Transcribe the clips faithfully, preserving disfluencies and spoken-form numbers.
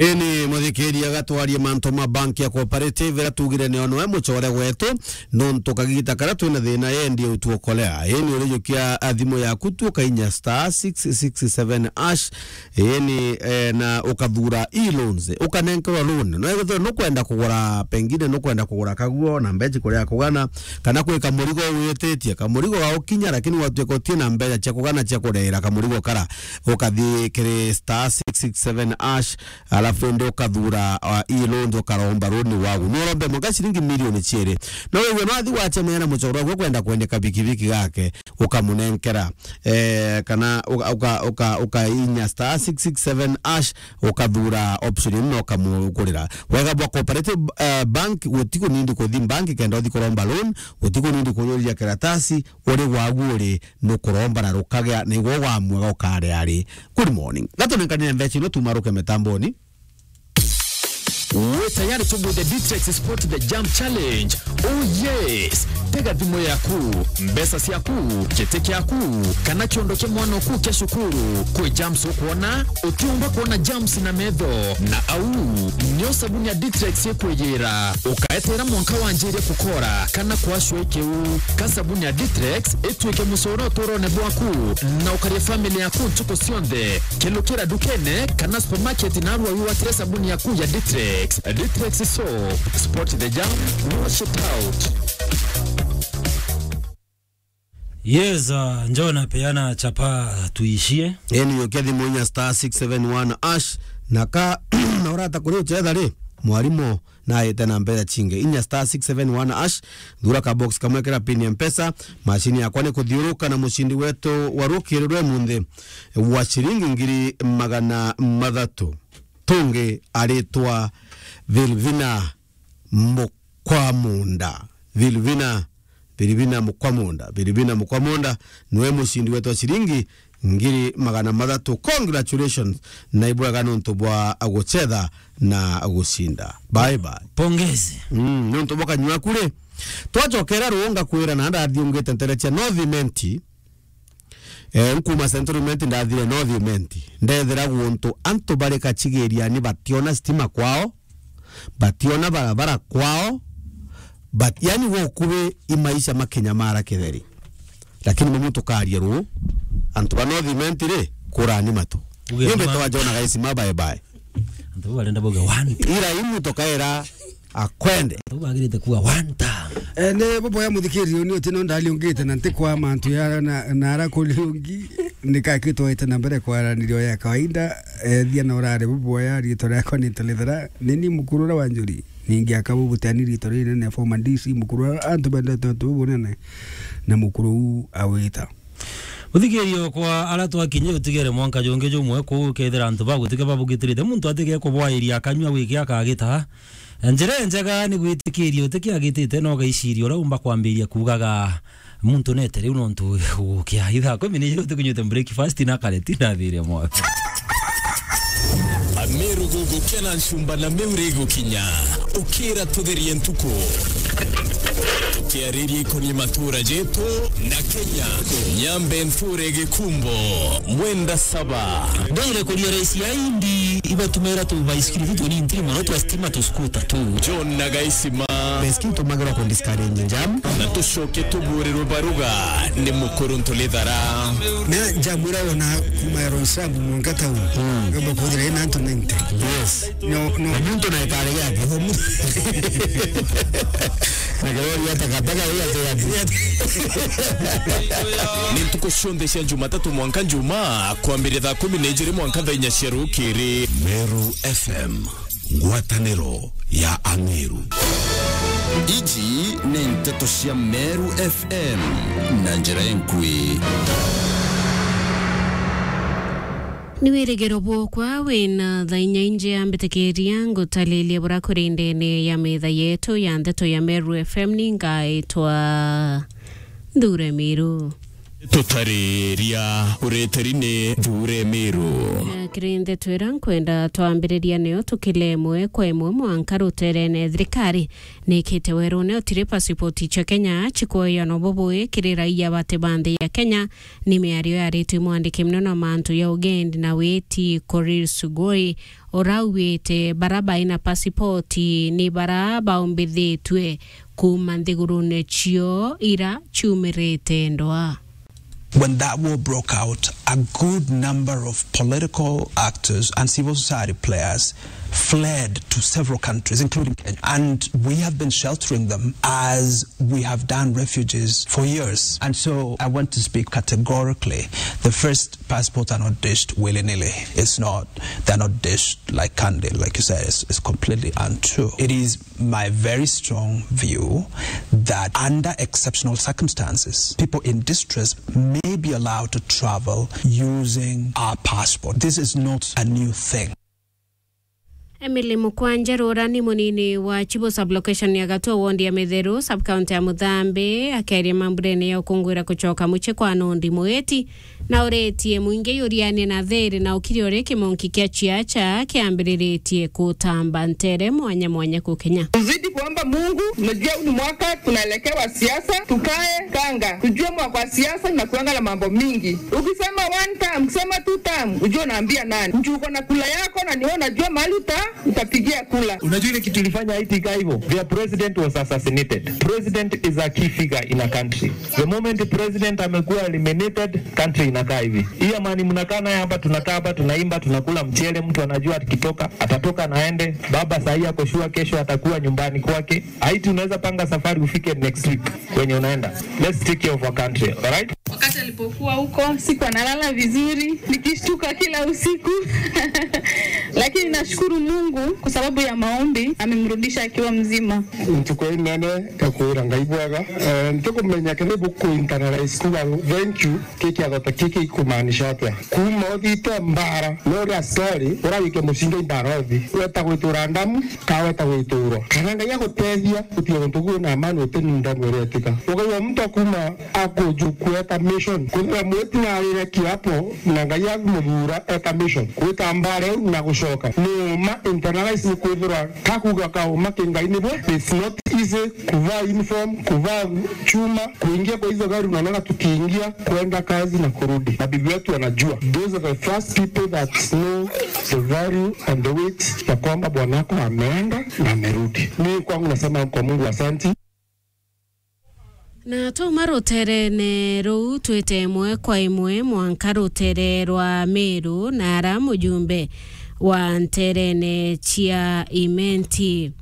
Ini muthikiria gatwarie mantu ma bank ya Cooperative, ira tugire ni ono e mucore wetu, nontu kagita kara twina thina yendi utuokolea. Ini urijukia thimu yaku tu ukainya star six six seven hash, ini, eh, na ukathura e-loans, ukanenkerwa loan. No ethirwa nukwenda kugura, pengine nukwenda kugura kaguo na mbeji kuria kugana, kana kwika murigo wititie, kamurigo gaukinya, lakini watuika utie na mbeja cia kugana cia kureera kamurigo kara, ukathi kiri star six six seven hash, alafu indi ukathura, uh, e-loans, ukaromba loan wagu. No urombe mwanka ciringi milioni ciiri. No wigwe nwathi wacemania na mucore waku ukwenda kwendeka bikibiki gake, ukamunenkera. Eh, kana uka, uka, uka, ukainya star six six seven hash, ukathura option ino na ukamugurira. Wega bwa Cooperative, eh, Bank, gutikunindi kuthi bank kenda uthi kuromba loan, gutikunindi kujuria karatasi, uri wagu uri nukuromba na rukagea, na igwe wa mwega ukare ari. Good morning. Gatunenkanire mbeca ino tumaruke mitamboni. Wi tayari tugwite Ditrex Sport the Jump Challenge? Oh yes! Tega thimu yaku, mbeca ciaku, giti kiaku, kana kiondo kia mwana oku kia cukuru. Kwi jumps ukwona, utiumba kwona jumps na metho, na au nio sabuni ya Ditrex ikwiyira. Ukaeterera mwanka wanjirie kukora kana kwacua ikiu. Ka sabuni ya Ditrex ituike mucoro uturone bwaku, na ukaria family yaku ntuku cionthe. Kilukira ndukene kana supermarket narua wiwatire sabuni yaku ya Ditrex. Ditrex soap, spot the jam, wash it out. Yes, uh, njoo napeana chapa tuishie. Eni yokia thimu inya star six seven one hash, na ka na urata kuri uchetha ri, mwarimu na aite na mbeca cingi. Inya star six seven one hash, thura ka box kamwe kira pin ya Mpesa, macini yakwa ni kuthiuruka na mucindi wetu wa rukiri rwe munthi wa ciringi ngiri magana mathatu. Tungi aritwa Vilvina Mukwamunda. Vilvina, Vilvina Mukwamunda. Vilvina Mukwamunda niwe mucindi wetu wa ciringi ngiri magana mathatu. Congratulations, na ibwega nontu bwa gucetha na gucinda. Bye bye. Pongezi. Mm, nontu bwa kanyua kuri. Twacokera runga kwira na ndathiungite ntere cia North Imenti. Eh, nkuma Central Imenti ndathire North Imenti. Ndethira guntu antu bari Kachigiriani bationa stima kwao, bationa barabara kwao, but, yani, gukubi i maisha makinyamara kitheri. Lakini mumu tukaria ruu, antu ba North Imenti ri, kurani matu. Uge ni ma- mbetwa Jona Gaisima bye bye. Antu barenda bauga one. Ira imu tukaira akwende. Antu bagirite kuga one time. Eh, ni buboya muthikiririo ni uti no ndariungite na ntikwa mantu ya na, na ara kuriungi, nikakitwaite na mbere kwaranirio ya kawaida. Eh, thia na urare buboya, riitwa riakwa ni Ntalithera, ni ni mukuru uria wa Njuri. Ningi akabu butani riitwa rinene, former D C mukuru, antu bendete untu bubunene, na mukuru u awita. Uthikirio kwa ara twakinye utigere mwanka jungi jumwe kuu, kethira antu bagutika babugitirite, muntu atige kubwairia akanyua wiki akagita. Njira njega ni gwitikiria utikiagitite na ugaiciria uria umba kwambiria kuugaga, muntu nete riu nontu gukia ithaa kumi ni ijiri utikunyuite breakfast na kareti na thiria mwa. Ameru gugukena ncumba na miuri igukinya, ukira tutherie ntuku. Tukiariria ikoni matura jetu na Kenya, nyambe nthure gikumbo, mwenda saba. Ndongire kuria raisi ya indi ibatumira tu baisikiri tu tuni ntiri mono twa stima tu skuta tu. John na Gaisima. Baisikiri tumagirwa ku discourage jam. Na tucoke tuburirwe baruga ni mukuru Ntulithara. Na jam ira wona kuma ya Roysambu mwanka town. Mm. Ngamba kuthira ina antu ninety. Yes. No, no. Na muntu na ikare yake. Na kirori ya takataka ya, ya, ya. Ni ntuku cionthe cia Jumatatu mwanka Njumaa, kwambiria thaa kumi na ijiri mwanka thaa inya cia rukiri. Meru F M, ngwataniro ya Ameru. Iji ni nteto cia Meru F M na njira enkui. Ni wirigiro bwokwa wina thaa inya inje, ambitikiria ngutaririe buria kuri ndene ya metha yetu ya nteto ya Meru F M. Ni ngaitwa Nthure Miru. Tutariria uritiri ni Thure Miru. Na kiri ndeto ira nkwenda twambiriria niyo tukile imwe kwa imwe mwanka ruterene. Thirikari nikite werune utiri pasipoti cia Kenya cikwoywa na bubui kiri raia bate ba nthi ya Kenya. Ni miario yaritwe mwandiki munene wa mantu ya ugendi na witi Korir Sugoi, ura augite bara baina pasipoti ni bara baumbithitue kuuma nthigurune cio ira ciumirite ndwaa. When that war broke out, a good number of political actors and civil society players fled to several countries, including Kenya. And we have been sheltering them as we have done refugees for years. And so I want to speak categorically. The first passports are not dished willy-nilly. It's not, they're not dished like candy, like you said. It's, it's completely untrue. It is my very strong view that under exceptional circumstances, people in distress may be allowed to travel using our passport. This is not a new thing. Emily Mukwanjeru, ura ni munini wa Chibo sublocation ya Gatua, ward ya Mitheru, sub-county ya Muthambi, akiaria mamburene ya ukungwira kucoka mucii kwa Nondi Mwiti, na uritie mwingi yurianie na thiri na ukiri uri kimonki kia ciaca kiambiriritie kutamba ntere mwanya mwanya ku Kenya. Tuzidi kuomba Mungu, unajua huu ni mwaka tunaelekewa siasa, tukae kanga. Tujue mwaka wa siasa inakuanga na mambo mingi. Ukisema one term, ukisema two term, ujue unaambia nani. Juu uko na kula yako na ni wewe unajua mahali uta-, utapigia kula. Unajua ile kitu ilifanya Haiti ikaa hivyo? Their president was assassinated. President is a key figure in a country. The moment president amekuwa eliminated, country inakaa hivi. Hii amani mnakaa naye hapa, tunakaa hapa, tunaimba, tunakula mchele, mtu anajua akitoka, atatoka na aende. Baba saa hii ako sure kesho atakuwa nyumbani kwake. Haiti unaweza panga safari ufike next week kwenye unaenda. Let's take care of our country, all right? Wakati alipokuwa huko, sikuwa nalala vizuri, nikishtuka kila usiku. Lakini nashukuru Mungu kwa sababu ya maombi, amemrudisha akiwa mzima. Ntuku inene ya kwira Ngai bwega. Eh, ntikumenya kiri buku internalize kuga thank you, ki kiatho ta kiki ikumaanisha atia. Kuuma uthiite mbaara, no uria story, urarike mucinga imbaara uthi. Weta gwitura ndamu, ka weta gwiturwa. Kana Ngai agutethia, utige guntu kuu na amani uti ni ndamu iria itika. Ukaigua muntu akuma akuju kweta mission. Kwithira mwiti na arire kiapo, na Ngai amuthura eta mission. Gwita mbaara iu na gucoka. Ni uma internalize ni kwithirwa kakuga ka uma ki Ngai nibo. It's not easy kuvaa uniform, kuvaa chuma, kuingia kwa hizo gari unaonaga tukiingia, kwenda kazi na kurudi. Mabibi wetu wanajua. Those are the first people that know the value and the weight ya kwamba bwanako ameenda na amerudi. Mimi kwangu nasema kwa Mungu asante. Na twauma ruterene ruu, twite imwe kwa imwe mwanka rutere rwa Meru, na ara mujumbe wa nterene cia Imenti,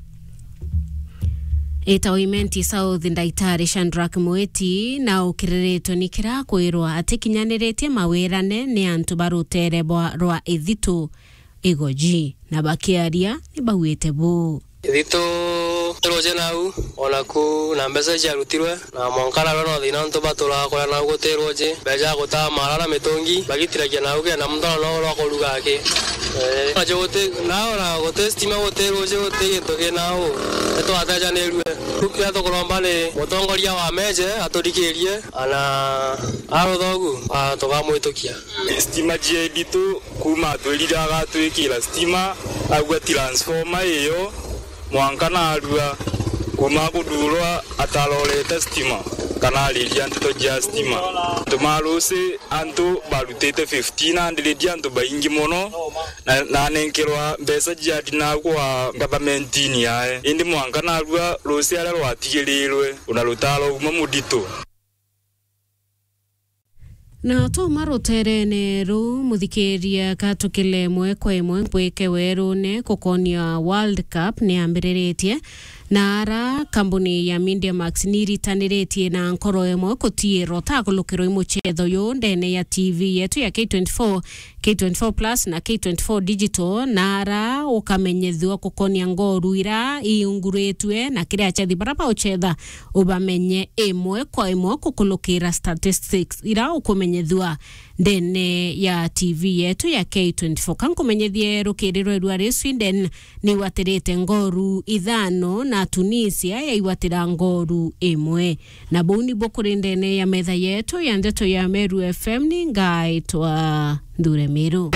itawa Imenti South, Ndaitari Shadrack Mwiti, na ukiriritwe ni kira kwirwa atikinyaniritie mawirane ni antu ba rutere bwa, rwa Ithitu Igoji, na bakiaria ni bauite buu. Ithitu ruji nau, onaku na mbeca ciarutirwe, na mwanka narua no thina antu baturaga kuria nau guti ruji, mbeca ya gutaa mara na mitungi, bagitiragia nau kenda muntu arona rwa kuruga aki. Eh, nacio guti, nao na guti stima, guti ruji, guti gintu ki nau, nitwatejanirue. Riu kiria tukuromba ni mutongoria wa Meje aturikirie, ana aruthogu, a, tukamwitukia. Stima cia Ithitu kuuma atwirire agatwikira stima, augua transformer iyo, mwanka narua kuuma kuthurwa atarorete stima, kana ariria nteto cia stima. Antu ma Rusi, antu barutite fifteen hundred, antu baingi mono, na, na anenkerwa mbeca cia ndina kwa government-ini yae. Indi mwanka narua Rusi aria rwatigirirwe, una rutaro uma muritu. Na twauma ruterene ruu, muthikiria, ka tukile imwe kwa imwe mbwike werune kukonia World Cup ni ambiriritie, na ara kambuni ya Media Max ni iritaniritie na nkoro imwe kutiirwa ta kulukirwa i mucetho uyu ndene ya T V yetu ya K twenty-four, K twenty-four Plus na K twenty-four Digital, na ara ukamenyethua kukonia ngoru ira iunguritue na kiri achethi bara baucetha, ubamenye imwe kwa imwe kukulukira statistics ira ukumenyethua ndene ya T V yetu ya K twenty-four. Ka nkumenyethie rukirirwe rwa ri Sweden ni watirite ngoru ithano na Tunisia yaigwatira ngoru imwe. Na buu nibo kuri ndene ya metha yetu ya ndeto ya Meru F M, ni ngaitwa Nthure Miru.